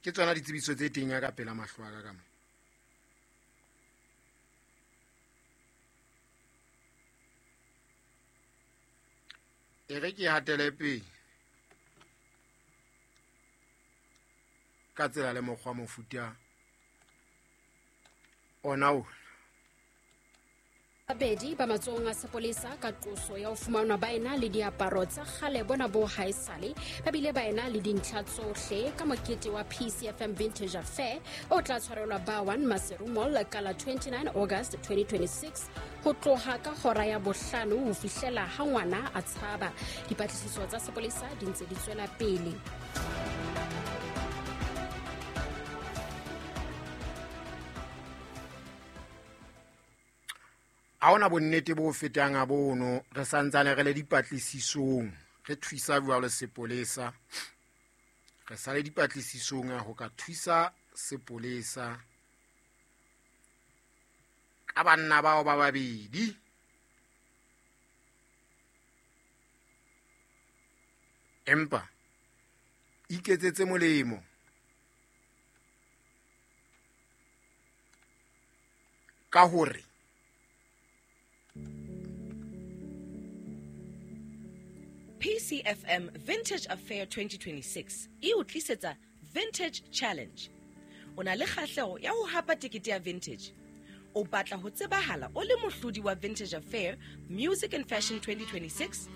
Ke tsona ditsebiso tse teng ya ka pela mahlo a ka ka mo. E re ke hatele pele ka tsela le mokgwa mofuta ona o. Babedi ba matsohong a sepolesa ka qoso ya ho fumanwa ba ena le diaparo tsa kgale bona bo haesale, ba bile ba ena le dintlha tsohle ka mokete wa PCFM Vintage Affair o tla tshwarelwa ba 1 Maseru Mall ka la 29 August 2026 ho tloha ka hora ya bohlano ho fihlela ha ngwana a tshaba. Dipatlisiso tsa sepolesa di ntse di tswela pele. Ha hona bonnete bo fetang a bono, re santsane re le dipatlisisong, re thusa jwalo sepolesa, re sa le dipatlisisong ho ka thusa sepolesa ka banna bao ba babedi. Empa iketsetse molemo ka hore PCFM Vintage Affair 2026 e o tlisetsa Vintage Challenge. O na le kgahleho ya ho hapa tekete ya vintage. O batla ho tsebahala o le mohlodi wa Vintage Affair Music and Fashion 2026?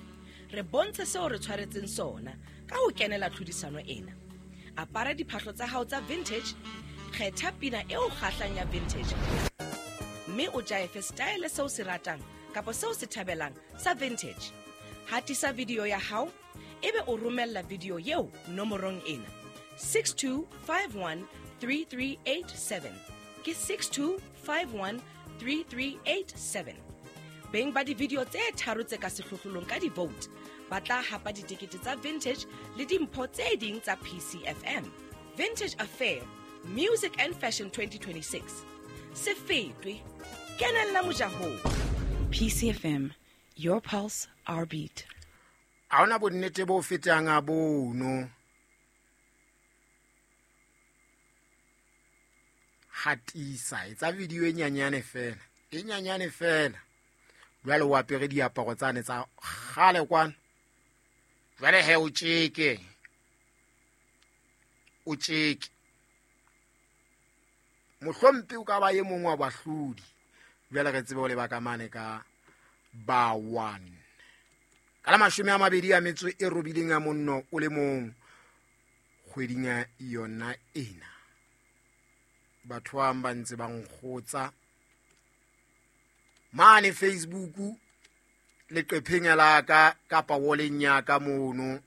Re bontshe seo re tshwaretseng sona ka ho kenela tlhodisano ena. Apara diphahlo tsa hao tsa vintage, kgetha pina e o kgahlang ya vintage, mme o jaefe style seo se ratang kapa seo se thabelang sa vintage. Hatisa video ya hao ebe o romella video eo nomorong ena 62513387. Ke 62513387. Beng ba di-video tse tharo tse ka sehlohlolong ka di-vote ba tla hapa ditekete tsa vintage le dimpho tse ding tsa PCFM. Vintage Affair Music and Fashion 2026. Se fetwe, kenella mojahong. PCFM, your pulse, our beat. Ha hona bonnete bo fetang a bono. Hatisa, etsa video e nyanyane fela, e nyanyane fela. Jwale o apere diaparo tsane tsa kgale kwana. Jwale he o tjeke, o tjeke. Mohlompe o ka ba e mong wa bahlodi. Jwale re tsebe ho leba ka mane ka ba 1. Ka la 28 a monno o le mong kgweding ya yona ena. Batho ba bang ba ntse ba nkgotsa mane Facebook leqepheng la ka kapa woleng ya ka mono.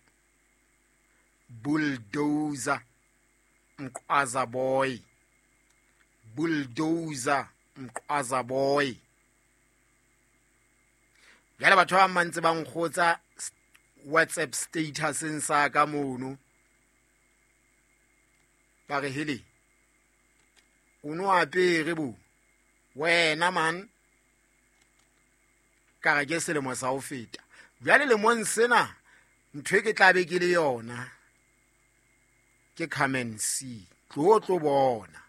Bulldozer Mqwaza boy, Bulldozer Mqwaza boy. Jwale batho ba bang ba ntse ba nkgotsa WhatsApp statuseng sa ka mono, ba re hele o no apere bo wena man, ka re ke selemo sa ho feta. Jwale lemong sena ntho e ke tla be ke le yona ke come and see, tlo tlo bona.